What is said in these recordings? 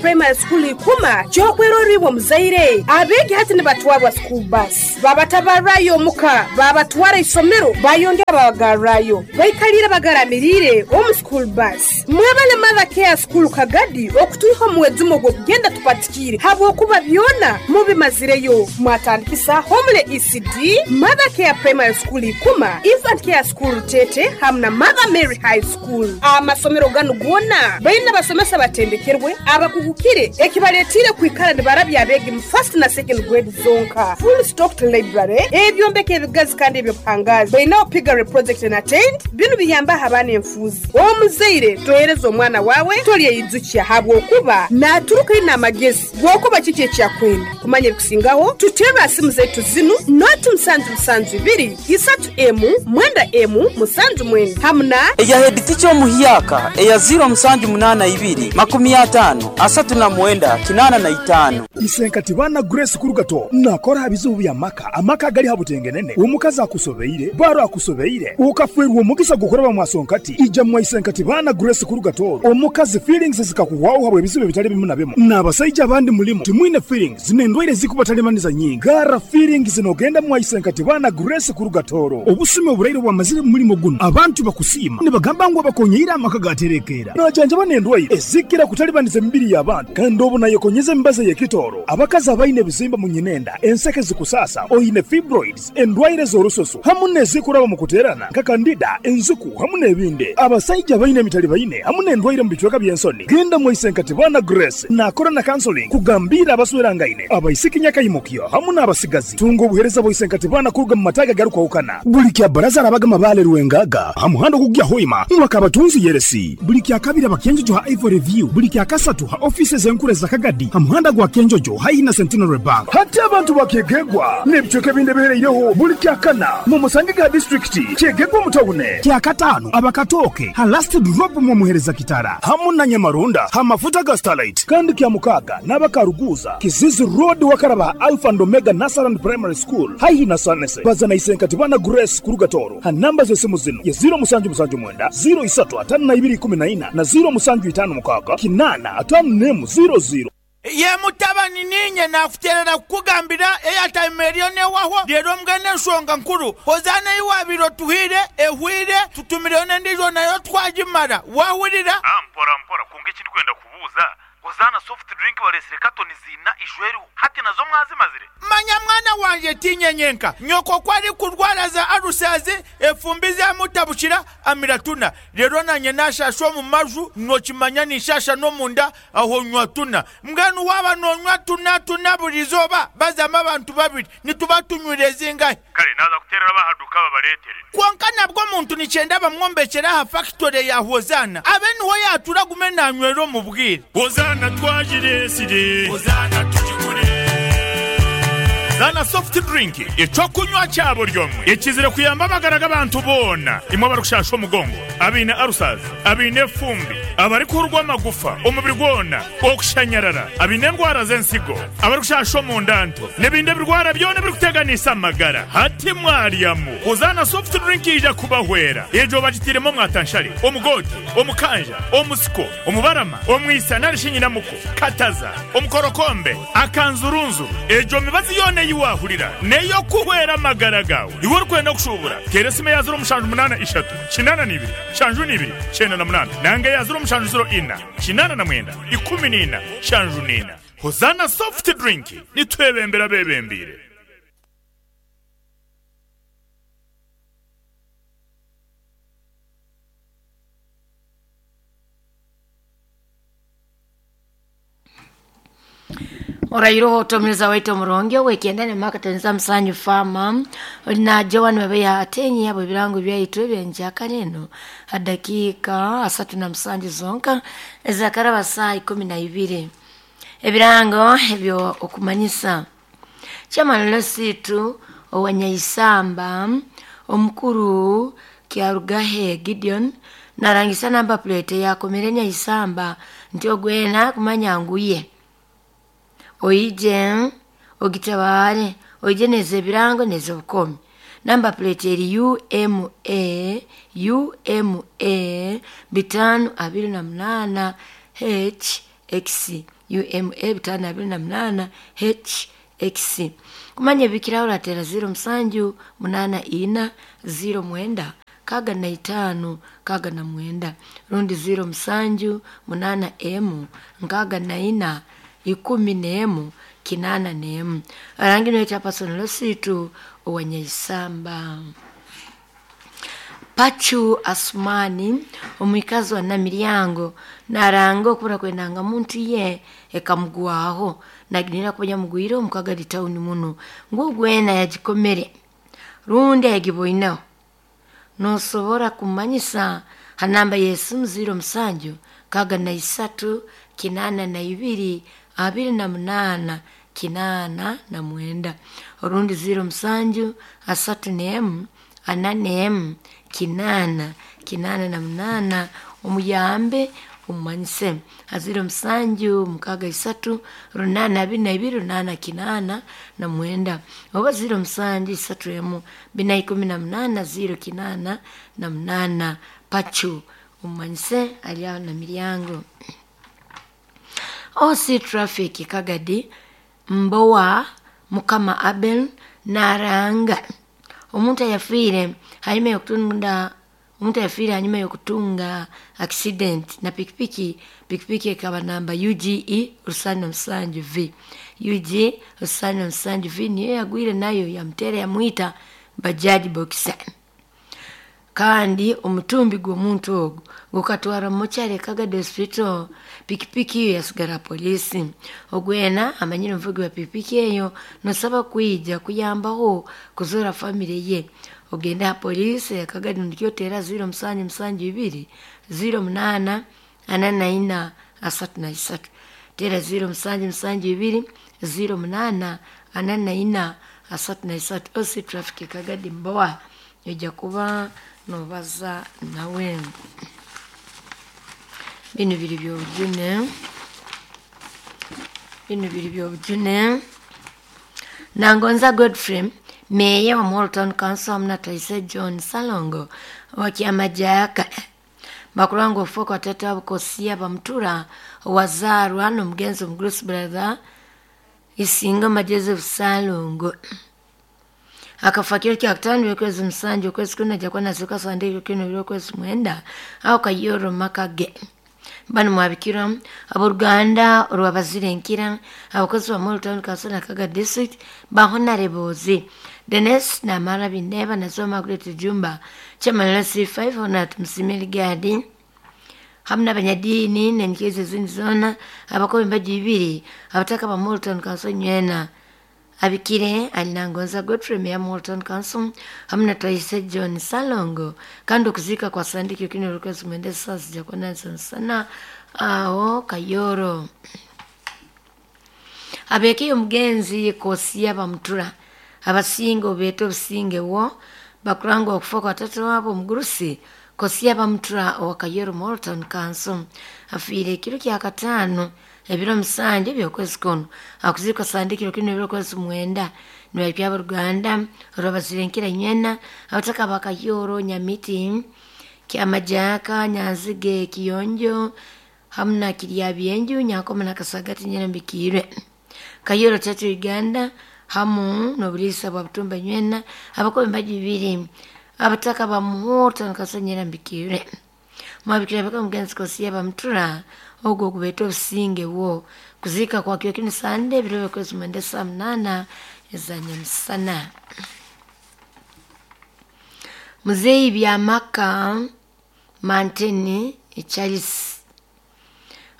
Primary School Ikuma ky'okwerora iwe omuzaire. Abeegi hati nibatwarwa school bus, babatabarrayo omuka, babatwara isomero, bayongera babagarrayo. Baikaliire bagaramiriire omu school bus. Mwebale Mother Care School Kagadi okutwiha omu mwejumo gw'okugenda tupatikiire habwokuba byona mubimazireyo. Mwatandikisa Homely ECD, Mother Care Primary School Ikuma, Infant Care School Rutete hamu na Mother Mary High School. Amasomero ganu goona baine abasomesa abatendekerwe, abakugukire ekibaletiire kwikara nibarabya abeegi mu first na second grade zonka. Full stocked library, ebyombeko ebigazi kandi eby'obuhangaazi. Bainaho piggery project and attained. Binu biyambaho abaana enfuuzi. Omuzaire tohereza omwana waawe tolyeyijukya habwokuba naaturuka aine amagezi g'okuba kiki eki akwenda. Kumanya ebikusingaho, tuterre ha simu zaitu zinu, noti musanju musanju ibiri, isatu emu, mwenda emu, musanju mwenda hamu na. Eya heeditica omuhyaka eya ziiro musanju munaana ibiri, makumi ataano, asatu na mwenda, kinaana na itaano. Isenkati baana Grace Kurugato nakora aha bizibu by'amaka, amaka agali ha butengenene, omukazi akusobeire, baro akusobeire, okafeerwa omugisa gw'okuraba mwasonkati, ija mwa Isenkati baana Grace Kurugato, omukazi feelings zikakuhwaho habw'ebizibu ebitali bimu na bimu, n'abasaija abandi mulimu timwine feelings n'endwaire ezikubatalibaniza nyingi, garra feelings n'ogenda mwa Isenkati baana Grace Kurugatoro. Obusumi oburaire obwamazire mu mulimo gunu, abantu bakusiima nibagamba ngu abakonyeire amaka gaterekeera. Najanjaba n'endwaire ezikira kutalibaniza emibiri y'abantu kandi obu nayekonyeza emibazi ey'ekitooro. Abakazi abaine ebizimba mu nyinenda, enseke zikusaasa, oine fibroids, endwaire z'orususu hamu n'ezikuraba omu kuteerana nka kandida, enziku hamu n'ebindi. Abasaija abaine emitalibaine hamu n'endwaire omu bicweka by'ensoni, genda mwaise Nkatibana Grace naakora na counseling kugambiira abaswerangaine, abaisiki nyakaimukyo hamu n'abasigazi. Tunga obuheereza bwa Isenkatibana kuruga mu mataagi agarukwahukana. Buli kya Baraza arabaga Mabaale Rwengaga ha muhanda ogukugya Hoima Mwakabatunzi Yeresi. Buli kya Kabiri aba Kyenjojo ha Ivory View. Buli kya Kasatu ha ofiisi ez'enkuru eza Kagadi ha muhanda gwa Kyenjojo haihi na Centenary Bank. Hati abantu ba Kyegegwa n'ebicweka ebindi ebihereireho buli kya Kana mumusangege ha disiturikiti Kyegegwa omu tawune. Kya Kataano aba Katooke ha Last Drop mwomuhereza Kitara hamu na Nyamaronda ha mafuta ga Starlight. Kandi kya Mukaaga n'aba Karuguuza, Kizizi Road wakaraba ha Alpha and Omega Nursery and Primary School haihi na Sanese. Baza na Isenkatibana Grace kuruga Tooro ha namba z'esimu zinu ye ziiro musanju musanju mwenda, ziiro isatu ataano na ibiri ikumi na ina na ziiro musanju itaano mukaaga kinaana ataano n'emu ziiro ziiro. Ye mutabani, niinye naakuteerera kukugambira eyataima eriyo n'ehwaho. Reero mbwenu enshonga nkuru, Hozaana ei waabaire otuhaire ehwaire, tutumireyo n'endiijo nayo twagimara. Waahurira? Mpora mpora, kwonka eki ndikwenda kubuuza, Hozaana soft drink bareetsire katoni ziina ijo eriho, hati nazo mwazimazire? Manya mwana wangye, tiinye nyenka. Nyoko ku arikurwara za alusazi, efumbi zaamutabukira, amira tuna. Reero naanye naashaasha omu maju, nookimanya ninshaasha n'omunda, aho nywa tuna. Mbwenu waaba noonywa tuna tuna buri izooba, bazamu abantu babiri, nituba tunywire zingahi? Kare naaza kuteerera ab'aha duuka babareetere. Kwonka nabwo omuntu nikyenda bamwombekyere aha fakitore ya Hozaana, abe niho yaatura agume naanywera omu bwire. Hozaana twagireetsire. Hozaana tugigure. Zaana Soft Drink, eky'okunywa kya buri omwe ekizire kuyamba amagara g'abantu boona. Imwe abarikushasha omugongo, abaine ulcers, abaine efumbi, abarikuhurwa amagufa omubiri gwona, okushanyarara, abaine endwara z'ensigo, abarikushasha omunda nto, n'ebindi ebirwara byona ebirikuteganisa amagara. Hati mwaryamu Hozaana Soft Drink eija kubahwera. Egyo bagitairemu omwatanshare, omugoote, omukanja, omusiko, omubarama, omwisa nari shi nyinamuko, kataza, omukorokombe, akanzurunzuru. Egyo mibazi yoona ei waahurira n'ey'okuhwera amagara gaawe. Iwe orikwenda kushuubura, teera esimu eya ziro mushanju munaana ishatu, kinaana na ibiri, nshanju na ibiri, kyenda na munaana nanga eya ziro mushanju ziro ina, kinaana na mwenda, ikumi na ina, nshanju na ina. Hozaana Soft Drink, nitwebembera abeebembeire. Orairoho otomereza waitu omurungi ow'ekyenda ne Mark Musanyu Farmer oli na Joan Webeya atenyi abo ebirango byaitu ebyenjakana eno ha dakiika 37 zonka ezakaraba saa 12. Ebirango ebyo okumanyisa Chairman Lesitu owanyaisamba omukuru Kyarugahe Gideon narangisa namba plate yakomere Nyaisamba nti ogwena kumanya nguye oije ogitabare oije neze ebirango neze obukomi. Namba plate eri UMA UMA 528 HX. UMA 528 HX. Kumanya ebikiraho ratera 07 84 09 65 69 rundi 07 8 M 64 11 81. Arangi niwe chapason lositu owanyaisamba. Pachu Asumani omwikazi wa Namiryango naranga okubura kwendanga muntu ye ekamugwaho naginira kuba yamugwire omukagali tawuni muno ngugwena yagikomere rundi yagiboinaho nosobora kumanyisa ha namba y'esimu 07 63 82 28 89 orundi 07 31 41 8 88 omuyambe omumanyise aziro musanju 63 822 8 89 oba 07 31 418 088 Pachu omumanyise ali aho na miryango. OC Traffic Kagadi Mbowa Mukama Abel naranga omuntu ayafiire hanyuma yokutunda omuntu ayafiire hanyuma yokutunga accident na pikipiki pikipiki ekaba namba UGE 77 V UG 77 V niyo yagwire nayo yamutera yamwita bajaji boxer. Kandi omutumbi gw'omuntu ogwo gukatwara mukyare Kagadi Hospital, pikipiki eyo yasigara polisi. Ogwena amanyire omuvugi wa pikipiki eyo nosaba kwija kuyambaho kuzora family ye. Ogende ha polisi ya Kagadi nikyo tera 0772 08 44 33 tera 0772 08 44 33 osi traffic Kagadi Mbowa ojja kuba nobaza nawe. Bino biri byobujune, bino biri byobujune. Nangonza Godfrey meya wa Muhoro Town Council hamwe na Taise John Salongo wa Kyamajaka bakuranga ofuka watatu abukosia bamutura wazarwa n'omugenzi omugurusi brother Isinga Joseph Salongo akafa kiro kya kutano okwezi musanju okwezi kuna jakwa nasika sande kino okwezi mwenda aho kayoro makage bano mwabikira aboluganda olwabazire nkira abakozi ba Muhoro Town Council na Kaga District ba Honorable Dennis Namara Bineba na Zoma Great Jumba chairman C5 Honat Msimeli Gadi hamwe n'abanyadini n'enkizo ezindi zona abakobi embaji ibiri abataka ba Muhoro Town Council nywena abikire alinangonza Godfrey Meya Muhoro Town Council hamwe na Taise John Salongo kandi okuzika kwa sandiki kino lukwezi mwenda saa zijakwa sana aho Kayoro. Abekiyo omugenzi Kosia bamutura abasinga obeeta obusinge wo bakuranga okufa kwa tata wabo omugurusi Kosia bamutura owa Kayoro Muhoro Town Council afiire ekiro kya kataano ebiro musanju ebyokwezi kuno akuzikwa sandikiro kino ebyokwezi mwenda nibabya aboluganda olwabazire nywena abataka ba Kayoro Nyamiti Kyamajaka Nyanzige Kiyonjo hamwe na Kiryabyenju Nyankoma na Kasagati Nyerambikirwe Kayoro Church Uganda hamu n'obulisa bwa Butumba nywena abakobi embaji ibiri abataka ba Muhoro Town Council Nyerambikirwe mwabikira baka omugenzi Kosia bamutura ogwo okubeeta obusinge wo kuziika kwa kiro kino sande ebiro byokwezi mwenda saa 8 ezanyamusana. Muzeeyi Byamaka Manteni Charles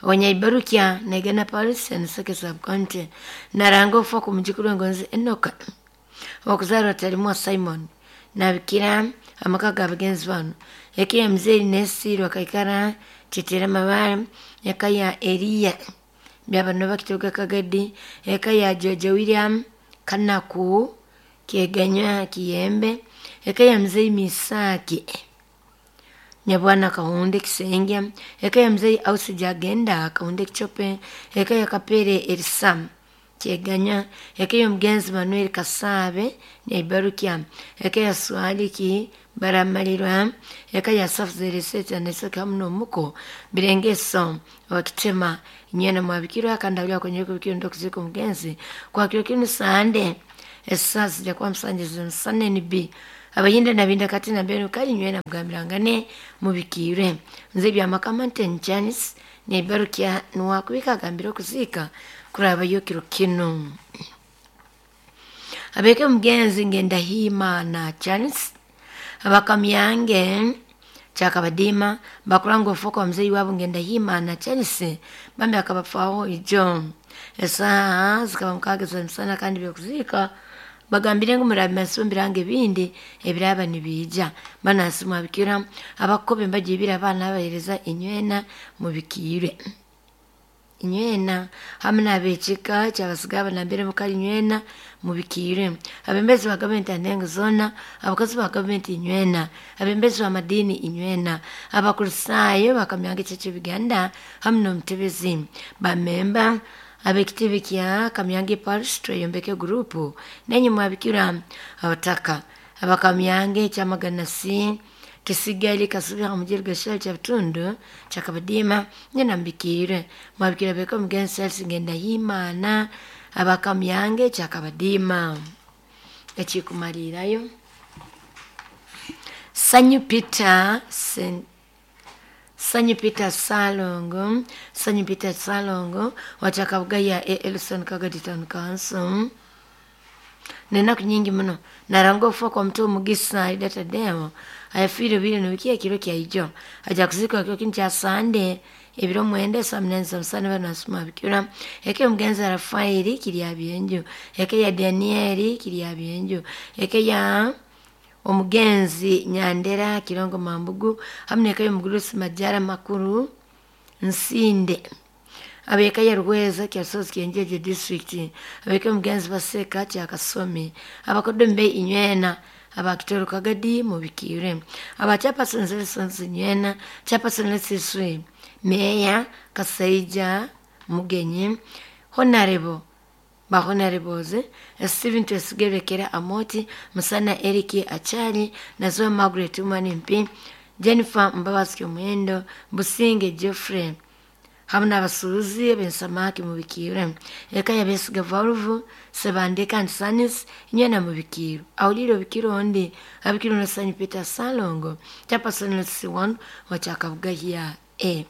Wanyaibarukya Negana Paris and Seke Sub-County naranga okufa ku mujukuru wengonzi Enoka okuzarwa Talimwa Simon nabikira amaka ga bagenzi bano eka ya muzeeyi Nesiirwa Kaikara Tetera Mabare eka ya Eliya Byabano Bakitoga Kagadi eka ya George William Kanaku Kieganywa Kiyembe eka ya muzeeyi Misaki Nyabwana Kahunde Kisengya eka ya muzeeyi Ausi Jagenda Kahunde Kichope eka ya Kapere Elisam Kyeganya eka y'omugenzi Manuel Kasaabe Naibarukya eka ya Swaliki Baramalirwa eka ya Safuzereseta Neseka hamu n'omuko Birengeso wakitema nyena mwabikirwa kandi awulira kwenye kubikirwa ndokuzika omugenzi kwakiro kinu Sande esasi jakuwa musanjizi musane NB abayinda nabinda kati nambere kali nywena mugambirangane mubikire nze byamakama nten Janice Naibarukya nuwakubika agambira okuzika kurabayo kiro kinu abeke mugenzi ngenda himana Janice abakamyange kyakabadima bakuranga ofuka omuzeyi wabo ngenda himana Janice bambi akabafaho ijo esaha zikaba mukaaga z'emisana kandi byokuzika bagambire ngu murabe masumbiranga ebindi ebiraba nibiija banasi mwabikira abakobe mbagibira abaana abahereza inywena mubikire inywena hamwe n'abekika kyabasigaba nambere mukali inywena mubikire abembezi ba gavumenti anengo zona abakozi ba gavumenti inywena abembezi ba madini inywena abakurisaayo bakamyanga ekyekyo Uganda hamwe n'omutebezi bamemba abekitebe kya Kamyange Parish tweyombeke gurupu nenye mwabikira abataka abakamyange kyamaganasi kisigali kasubira mujeri gashali kya bitundu kyakabadima nyina mbikire mwabikira beko mugenzi Charles ngenda himana abakamyange kyakabadima ekikumalirayo Sanyu Peter Sanyu Peter Salongo Sanyu Peter Salongo watakabugaya Elson Kagadi Town Council nenaku nyingi muno naranga okufa kwa mtu omugisa Ida Tadeo ayafiire biri nobikiya kiro kya ijo aja kuzikwa kiro kinu kya Sande ebiro mwenda saa munani za musana bano asoma bikira eke omugenzi Rafaeli kirya byenju eke ya Danieli kirya byenju eke ya omugenzi Nyandera Kirongo Mambugu hamwe neka y'omugurusi Majara Makuru Nsinde abeka ya Rweza kyasozi kyenjeje district abeka omugenzi Baseka kyakasomi abakodombe inywena abakitoro kagadi mubikire abachapasoni zelsonzi inywena chapasoni lesiswe meya Kasaija Mugenyi honorable bahonoreboze Steven Twesigerekera Amoti Musana Eric Achali Nazoa Margaret Umani Mpi Jennifer Mbabazi Omwendo Businge Geoffrey hamwe n'abasuuzi abensamaki mubikire eka yabesiga Valve Sebandeka and Sanis nyena mubikiro awulire obikiro ondi abikiro na Sanyu Peter Salongo chapasoni C1 wachakabugaya A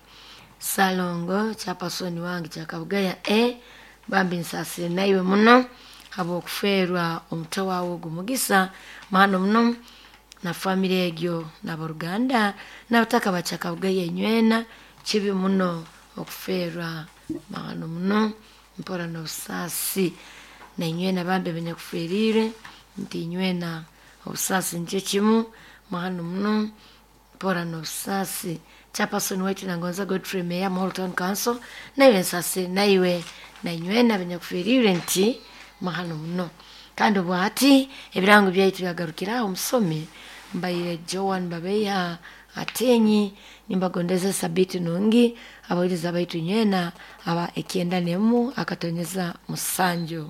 Salongo chapasoni wange chakabugaya A bambi nsasire naiwe muno habw'okuferwa omuto wawe ogu mugisa mahano muno na famire egyo n'aboruganda n'abataka bachakabugaya inywena kibi muno okuferwa mahano muno mpora n'obusaasi na inywena bambi benyakuferire nti inywena obusaasi nikyo kimu mahano muno mpora n'obusaasi chapasoni waitu nangonza Godfrey Meya Muhoro Town Council naiwe nsasire naiwe na inywena benyakuferire nti mahano muno kandi obwati ebirango byaitu byagarukiraho omusomi mbaire Joan Babeya Atenyi nimbagondeza sabiti nungi abawiriza baitu nywena aba ekyenda nemu akatonyeza musanju.